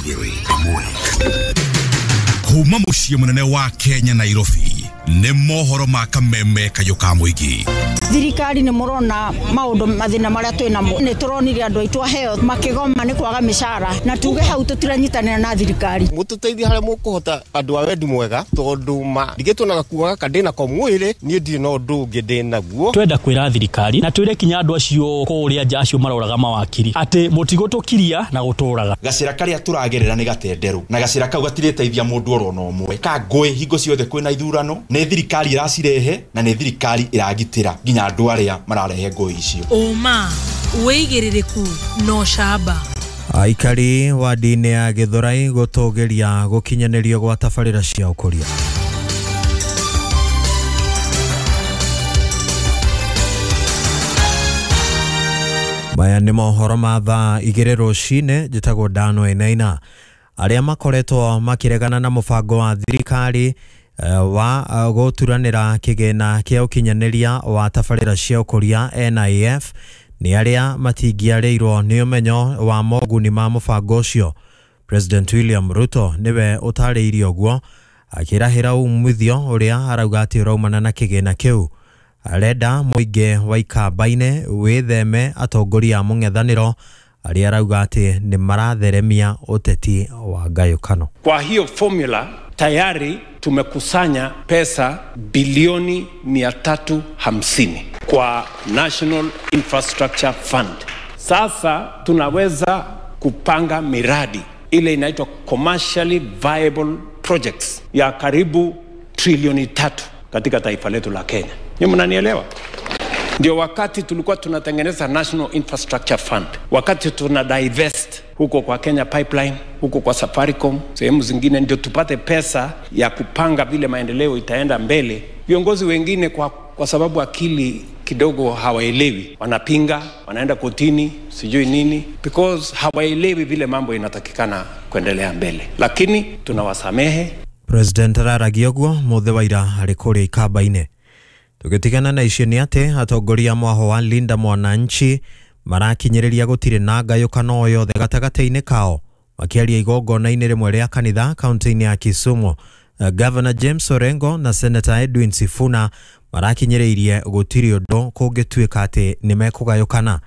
2.1. Kuma mũciĩ mũnene wa Kenya, Nairobi, nĩ mohoro ma kameme kayũ ka mũingĩ. Thirikari nĩ mũrona maũndũ mathĩna marĩa twĩ namo. Nĩ tũronire andũ aitũ a health makĩgoma nĩ kwaga mĩcara, na tuge hau tũtiranyitanĩra na thirikari. Mũtũteithie harĩa mũkũhota, andũ a wendi mwega, tondũ ma ndigĩtwo na gakuo gaka ndĩ nako mwĩrĩ, niĩ ndirĩ na ũndũ ũngĩ ndĩ naguo. Twenda kwĩra thirikari na twĩre kinya andũ acio kũrĩa nja acio maroraga mawakiri atĩ mũtigũtũkiria na gũtũraga. Gacĩra karĩa tũragerera nĩ gatenderũ, na gacĩra kau gatirĩteithia mũndũ oro na ũmwe. Ka ngũĩ hingo ciothe kwĩna ithurano, nĩ thirikari ĩracirehe na nĩ thirikari ĩragitĩra nginya andũ arĩa mararehe ngũĩ icio. Ũma, wĩigĩrĩrĩku na ũcamba. Aikari wadi-inĩ ya Gĩthũrai gũtũgĩria gũkinyanĩrio gwa tabarĩra cia ũkũria. Maya nĩ mohoro ma thaa 2 rũcinĩ. Njĩtagwo Dano Enaina. Arĩa makoretwo makĩregana na mũbango wa thirikari wa gũturanĩra kĩgĩna kĩa ũkinyanĩria wa tabarĩra cia ũkũria NIF nĩ arĩa matingĩarĩirwo nĩ ũmenyo wa moguni ma mũbango ũcio. President William Ruto nĩwe ũtarĩirie ũguo akĩrahĩra umithio ũrĩa arauga atĩ ũraumana na kĩgĩna kĩu. Arenda mũingĩ wa Ikamba-inĩ wĩtheme atongoria a mũng'ethanĩro arĩa arauga atĩ nĩ maratheremia ũteti wa ngayũkano. Kwa hiyo formula tayari tumekusanya pesa bilioni 350 kwa National Infrastructure Fund. Sasa tunaweza kupanga miradi ile inaitwa commercially viable projects ya karibu trilioni 3 katika taifa letu la Kenya. Ni mnanielewa? Ndio wakati tulikuwa tunatengeneza National Infrastructure Fund, wakati tuna divest huko kwa Kenya Pipeline, huko kwa Safaricom, sehemu zingine, ndio tupate pesa ya kupanga vile maendeleo itaenda mbele. Viongozi wengine kwa sababu akili kidogo hawaelewi, wanapinga, wanaenda kotini, sijui nini, because hawaelewi vile mambo inatakikana kuendelea mbele, lakini tunawasamehe. President araragia ũguo mũthĩ wa ira arĩ kũrĩa Ikamba-inĩ. Tũgĩtigana na icio nĩ atĩ atongoria mwaho wa Linda Mwananchi marakinyĩrĩria gũtirĩ na ngayũkano o yothe gatagatĩ-inĩ kao makĩaria igongona-inĩ rĩmwe rĩa kanitha kaunti-inĩ ya Kisumu. Governor James Orengo na Senator Edwin Sifuna marakinyĩrĩirie gũtirĩ ũndũ kũngĩtuĩka atĩ nĩ mekũgayũkana.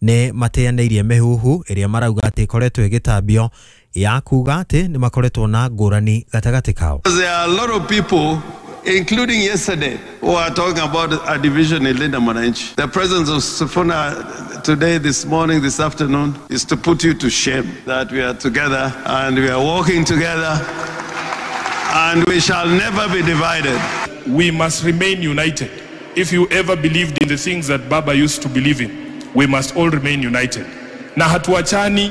Nĩ mateanĩirie mĩhuhu ĩrĩa marauga atĩ ĩkoretwo ĩgĩtambio ya kuga atĩ nĩ makoretwo na ngũrani gatagatĩ kao. There are a lot of people, including yesterday, who are talking about a division in Linda Mwananchi. The presence of Sifuna today, this morning, this afternoon, is to put you to shame that we are together and we are walking together and we shall never be divided. We must remain united. If you ever believed in the things that Baba used to believe in, we must all remain united. Na hatuachani,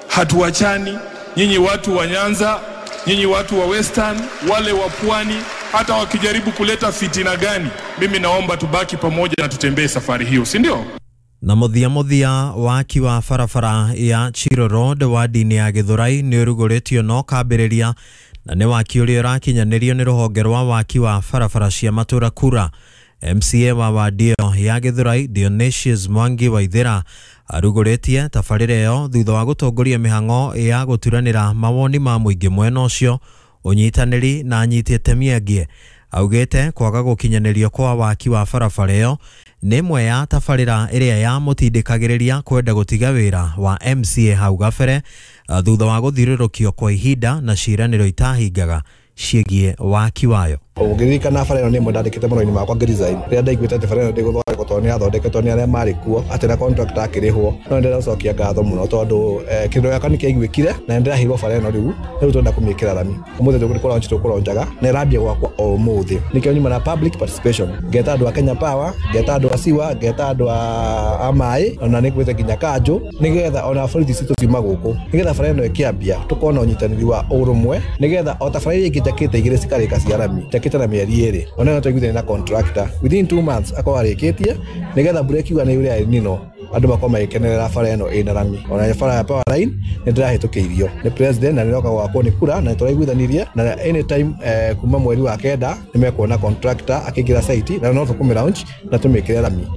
hatuachani. Nyinyi watu wa Nyanza, nyinyi watu wa Western, wale wa Pwani, hata wakijaribu kuleta fitina gani, mimi naomba tubaki pamoja na tutembee safari hiyo, si ndio? Na mũthia mũthia waki wa barabara ya Chiro Road wadi-inĩ ya Gĩthũrai nĩ ũrugũrĩtio na ũkambĩrĩria, na nĩ waki ũrĩa ũrakinyanĩrio nĩ rũhonge rwa waki wa barabara cia matũra kura. MCA wa wadi ĩyo ya Gĩthũrai Dionysius Mwangi Waithera arugũrĩtie tabarĩra ĩyo thutha wa gũtongoria mĩhang'o ya gũturanĩra mawoni ma mũingĩ mwena ũcio, ũnyitanĩri na anyiti itemi angĩ. Augĩte kwaga gũkinyanĩrio kwa waki wa barabara ĩyo nĩ ĩmwe ya tabarĩra ĩrĩa yamũtindĩkagĩrĩria kwenda gũtiga wĩra wa MCA hau gabere thutha wa gũthiũrũrũkio kwa ihinda na ciĩranĩro itahingaga ciĩgiĩ waki wayo. Ũngĩririkana bara ĩno nĩ ĩmwe ndandĩkĩte marũa-inĩ makwa ngĩresign rĩrĩa ndaiguĩte atĩ bara ĩno ndĩgũthondekwo tondũ nĩ yathondeketwo nĩ arĩa marĩ kuo atĩ na contractor akĩrĩhwo. No nĩ ndĩracokia ngatho mũno tondũ kĩrĩro gĩakwa nĩ kĩaiguĩkire na nĩ ndĩraheirwo bara ĩno rĩu, rĩu tũrenda kũmĩkĩra rami. Ũmũthĩ tũkũlaunch tũkũlaunchaga na ĩrambia gwakwa o ũmũthĩ. Nĩkĩo nyuma na public participation, ngeta andũ a Kenya Power, ngeta andũ a Siwa, ngeta andũ a maĩ, ona nĩ ngwĩte nginya kanjũ, nĩgetha ona borithi citũ ciuma gũkũ, nĩgetha bara ĩno ĩkĩambia tũkorwo na ũnyitanĩri wa ũrũmwe, nĩgetha o ta bara iria ingĩ njakĩte igĩrĩ cikarĩka cia rami, njakĩte na mĩeri 2, ona ĩno twaiguithania na contractor within 2 months akorwo arĩkĩtie, nĩgetha mbura ĩkiura nĩ yure El Nino andũ makorwo magĩkenerera bara ĩno ĩna rami. Ona bara ya Power Line nĩ ndĩrahĩtũkĩirio nĩ president na nĩroka gwakwo nĩ kura na nĩtũraiguithanirie na anytime kuma mweri wa 9 nĩ mekuona contractor akĩingĩra site na no tũkũmĩ launch na tũmĩkĩre rami.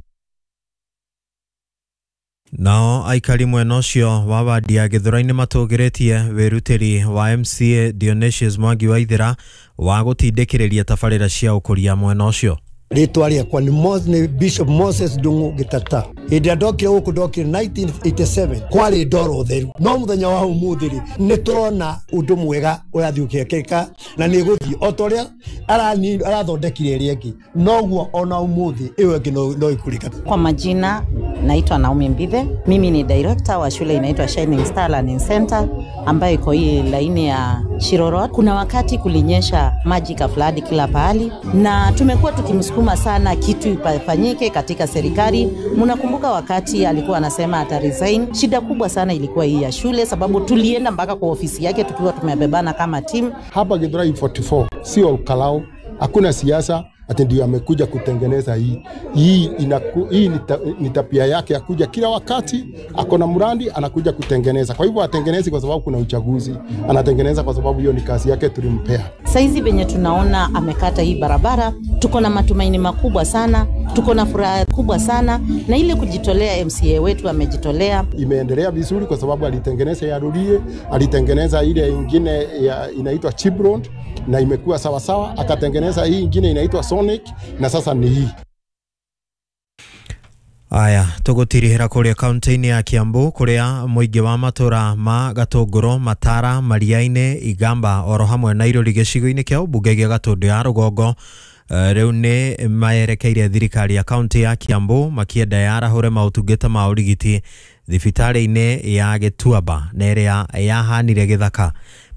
Nao aikari mwena ũcio wa wadi ya Gĩthũrai-nĩ matũgĩrĩtie wĩrutĩri wa MCA Dionysius Mwangi Waithera wa gũtindĩkĩrĩria tabarĩra cia ũkũria mwena ũcio. Rĩtwa rĩakwa nĩ Bishop Moses Ndung'u Gĩtata. Hĩndĩ ĩrĩa ndokire gũkũ ndokire 1987 kwarĩ ndoro theru, no mũthenya wa ũmũthĩ rĩ nĩ tũrona ũndũ mwega ũrathiĩ ũkĩekĩka na nĩ gũthiĩ o ta ũrĩa arathondekire ĩrĩa ĩngĩ, noguo ona ũmũthĩ ĩyo ĩngĩ no ĩkũrĩka. Kwa majina naitwa Naomi Mbithe, mimi ni director wa shule inaitwa Shining Star Learning Center ambayo iko hii laini ya Shiro Road. Kuna wakati kulinyesha maji kafladi kila pahali na tumekuwa tukimsukuma sana kitu ifanyike katika serikali. Mnakumbuka wakati alikuwa anasema ata resign. Shida kubwa sana ilikuwa hii ya shule, sababu tulienda mpaka kwa ofisi yake tukiwa tumebebana kama team. Hapa Githurai 44 sio Kalao, hakuna siasa ati ndio amekuja kutengeneza hii. Hii ni tabia yake ya kuja kila wakati, akona mradi anakuja kutengeneza. Kwa hivyo atengenezi kwa sababu kuna uchaguzi, anatengeneza kwa sababu hiyo ni kazi yake tulimpea. Saizi venye tunaona amekata hii barabara, tuko na matumaini makubwa sana, tuko na furaha kubwa sana, na ile kujitolea MCA wetu amejitolea. Imeendelea vizuri kwa sababu alitengeneza ya Rurie, alitengeneza ile ingine inaitwa Chibron na imekuwa sawa sawa, akatengeneza hii ingine inaitwa Sonic na sasa ni hii. Aya, tugutirihira kuria kaunti-inĩ ya Kiambu kuria mũingĩ wa matũra ma Gatũngũrũ, Matara, Mariainĩ, Igamba oro hamwe na Irũri gĩcigo-inĩ kĩa ũmbunge gĩa Gatũndũ ya Rũgongo rĩu nĩ mayerekeire thirikari ya kaunti ya Kiambu makienda yarahũre maũtungata ma ũrigiti thibitarĩ-inĩ ya Gĩtuamba na ĩrĩa yahanire gĩthaka.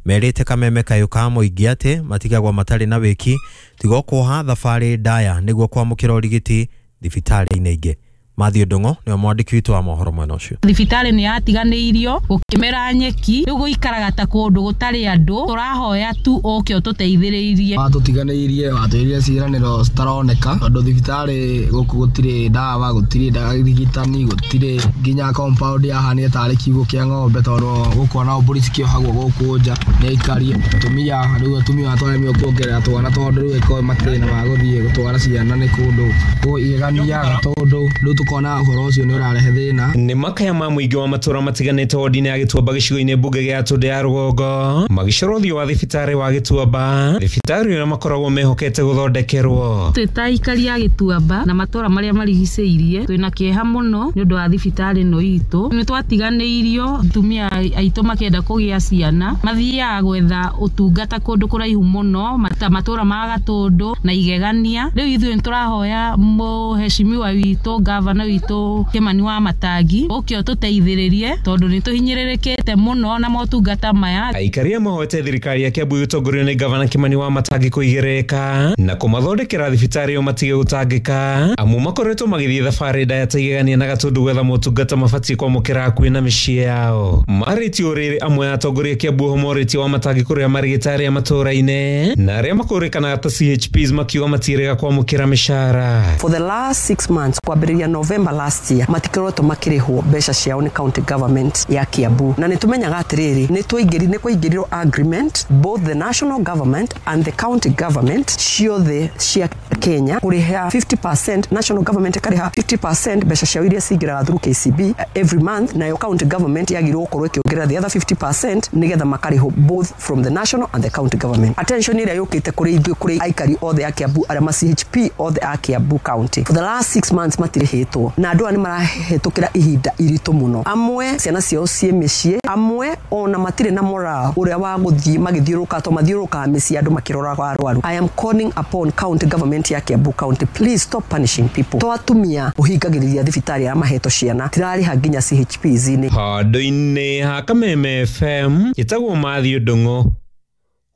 Merĩte kameme kayũ ka mũingĩ atĩ matigagwo matarĩ na wĩki tigo kuoha thabarĩ ndaya nĩguo kwamũkĩra ũrigiti thibitarĩ-inĩ ingĩ. Matthew Ndung'u nĩwe mwandĩki witũ wa mohoro mwena ũcio. Thibitarĩ nĩ yatiganĩirio gũkĩmera nyeki, rĩu gũikaraga ta kũndũ gũtarĩ andũ, tũrahoya tu ũke ũtũteithĩrĩirie. Watũtiganĩirie, watwĩrire ciĩranĩro citaroneka tondũ thibitarĩ gũkũ gũtirĩ ndawa, gũtirĩ arigitani, gũtirĩ nginya compound yahanire tarĩ kiugũ kĩa ng'ombe tondũ gũkũ ona mbũri cikĩohagwo gũkũ nja nĩ aikari atumia, rĩu atumia twaremirwo kuongerera twana tondũ rĩu ĩkorwo matirĩ na ma gũthiĩ gũtwara ciana nĩ kũndũ igegania tondũ rĩu tukona ũhoro ũcio nĩ ũrarehe thĩna. Nĩ makaya ma mũingĩ wa matũra matiganĩte wodi-inĩ ya Gĩtuamba gĩcigo-inĩ mbunge gĩa Gatũndũ ya Rũgongo magĩcora ũthiũ wa thibitarĩ wa Gĩtuamba, thibitarĩ ũrĩa makoragwo mehokete gũthondekerwo. Twĩ ta aikari a Gĩtuamba na matũra marĩa marigicĩirie twĩna kĩeha mũno nĩ ũndũ wa thibitarĩ ĩno itũ. Nĩ twatiganĩirio, atumia aitũ makĩenda kũgĩa ciana mathiaga gwetha ũtungata kũndũ kũraihu mũno matũra ma Gatũndũ na Igegania. Rĩu ithuĩ nĩ tũrahoya mũheshimiwa witũ gavana witũ Kimani wa Matangi ũke ũtũteithĩrĩrie tondũ nĩ tũhinyĩrĩrĩkĩte mũno na motungata maya. Aikari mahoete thirikari ya Kiambu ĩtongorio nĩ gavana Kimani wa Matangi kũigĩrĩrĩka na kũmathondekera thibitarĩ ĩyo matige gũtangĩka amu makoretwo magĩthiĩ thabarĩ ndaya ta Igegania na Gatũndũ gwetha motungata mabatiĩ kwamũkĩra hakuhĩ na mĩciĩ yao. Marĩtie ũrĩrĩ amwe a atongoria Kiambu oho morĩtie wa Matangi kũrĩa marĩgĩtarĩ a matũra-inĩ na arĩa makũrĩkanaga ta CHPs makiuga matirega kwamũkĩra mĩcara. For the last 6 months kwambĩrĩria November last year matikoretwo makĩrĩhwo mbeca ciao nĩ county government ya Kiambu, na nĩ tumenyaga atĩrĩrĩ nĩ kwaingĩrirwo agreement both the national government and the county government ciothe cia Kenya kũrĩha 50%, national government ĩkarĩha 50% mbeca ciao iria cingĩraga through KCB every month, nayo county government yagĩrĩirwo gũkorwo ĩkĩongerera the other 50% nĩgetha makarĩhwo both from the national and the county government. Attention ĩrĩa yũkĩte kũrĩ ithuĩ kũrĩ aikari othe a Kiambu arĩa ma CHP othe a Kiambu county for the last 6 months matirĩhĩtwo, na andũ aya nĩ marahĩtũkĩra ihinda iritũ mũno. Amwe ciana ciao ciĩ mĩciĩ, amwe ona matirĩ na morale ũrĩa wa gũthiĩ magĩthiũrũrũka to mathiũrũrũkaga mĩciĩ andũ makĩroraga arwaru. I am calling upon county government ya Kiambu county, please stop punishing people. To atumia ũhingagĩrĩria thibitarĩ arĩa mahetwo ciana tirarĩha nginya CHPs-inĩ. Handũ-inĩ ha Kameme FM ĩtagwo Matthew Ndung'u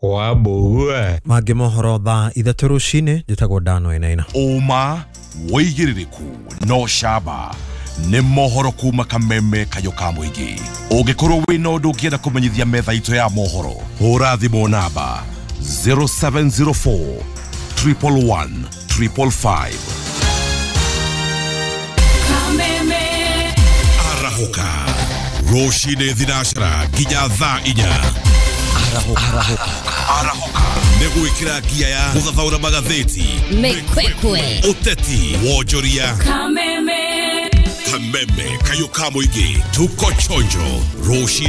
wa Mbũgua. Mangĩ mohoro thaa 3 rũcinĩ, njĩtagwo Dano Enaina. Ũma wĩigĩrĩrĩku no camba nĩ mohoro kuma Kameme kayũ ka mũingĩ. Ũngĩkorwo wĩna ũndũ ũngĩenda kũmenyithia metha itũ ya mohoro, hũra thimũ namba 0704 111 555. Kameme Arahũka rũcinĩ thinacara nginya thaa 4. Arahũka nĩ gwĩkĩra ngia ya gũthathaũra magathĩti, mĩkwekwe, ũteti, wonjoria. Kameme. Kameme. Kameme kayũ ka mũingĩ, tuko chonjo rũcinĩ.